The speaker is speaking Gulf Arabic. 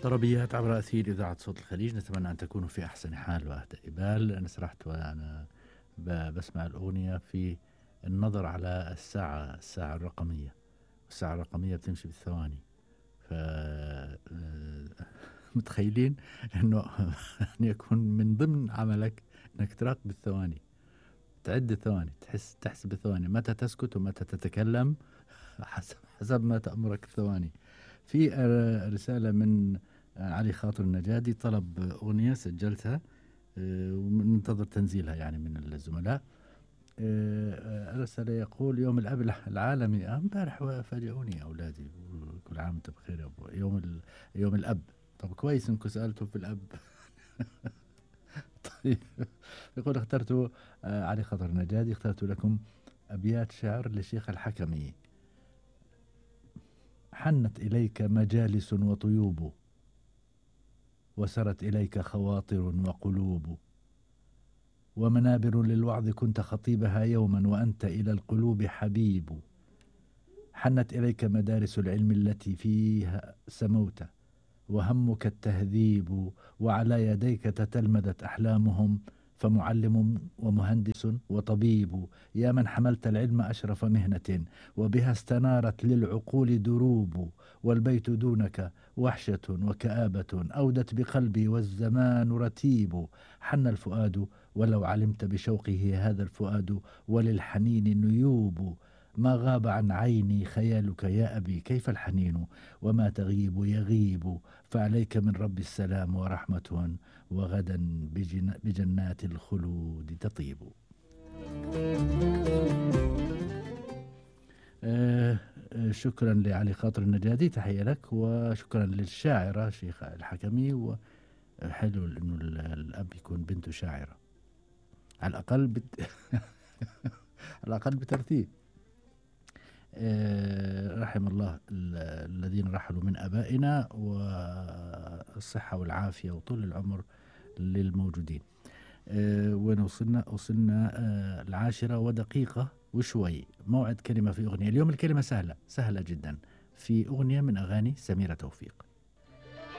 طربيات عبر أثير إذاعة صوت الخليج، نتمنى أن تكونوا في أحسن حال وأهدى بال. أنا سرحت وأنا بسمع الأغنية في النظر على الساعة الرقمية، والساعة الرقمية بتمشي بالثواني. ف متخيلين أنه أن يكون من ضمن عملك أنك تراقب الثواني، تعد الثواني، تحسب الثواني، متى تسكت ومتى تتكلم حسب ما تأمرك الثواني. في رسالة من علي خاطر النجادي، طلب أغنية سجلتها ومنتظر تنزيلها يعني من الزملاء. رسالة يقول: يوم الأب العالمي. امبارح فاجئوني أولادي، كل عام وانتم بخير يا أبو. يوم الأب. طب كويس إنكم سألتوا في الأب. طيب، يقول اخترت علي خاطر النجادي، اخترت لكم أبيات شعر للشيخ الحكمي. حنت إليك مجالس وطيوب، وسرت إليك خواطر وقلوب، ومنابر للوعظ كنت خطيبها يوما، وأنت إلى القلوب حبيب. حنت إليك مدارس العلم التي فيها سموت، وهمك التهذيب، وعلى يديك تتلمذت أحلامهم، فمعلم ومهندس وطبيب. يا من حملت العلم أشرف مهنة، وبها استنارت للعقول دروب، والبيت دونك وحشة وكآبة، أودت بقلبي والزمان رتيب. حن الفؤاد ولو علمت بشوقه هذا الفؤاد، وللحنين نيوب. ما غاب عن عيني خيالك يا أبي، كيف الحنين وما تغيب يغيب. فعليك من رب السلام ورحمة، وغدا بجنات الخلود تطيب. شكرا لعلي خاطر النجادي، تحية لك، وشكرا للشاعرة شيخ الحكمي. وحلو انه الاب يكون بنته شاعرة على الاقل على الاقل بترتيب. رحم الله الذين رحلوا من ابائنا، والصحة والعافية وطول العمر للموجودين. وين وصلنا 10:01 وشوي. موعد كلمة في أغنية. اليوم الكلمة سهلة جدا، في أغنية من أغاني سميرة توفيق.